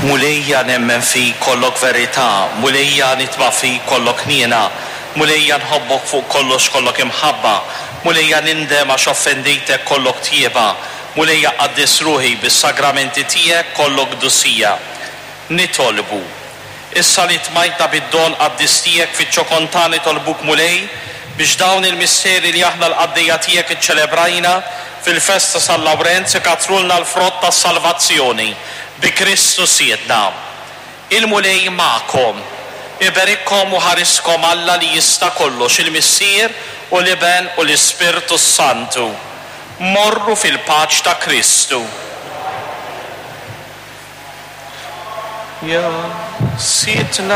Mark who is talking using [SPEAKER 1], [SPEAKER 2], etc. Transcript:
[SPEAKER 1] Mulejja nemmen fik kollok verità, Mulejja nitma' fik kollok ħniena, Mulejja nħobbok fuq kollox kollok imħabba, Mulejja nindem għax offendejtek kollok tjieba, Mulejja qaddis ruħi bis-sagramenti tiegħek kollok qdusija. Nitolbu. Issa li tmajtna bid-don qaddis tiegħek fiċ-ċokon tagħna nitolbuk Mulej biex dawn il-misteri li aħna l-qaddejja tiegħek iċċelebrajna fil-festa San Lawrenz ikattrulna l-frott tas-salvazzjoni bi Kristu Sidna. Il-Mulej magħkom. Iberikkom u ħariskom Alla li jista' kollox, il-Missier u l-Iben u l-Ispirtu s-Santu. Morru fil-paċ ta' Kristu. Ja Sidna.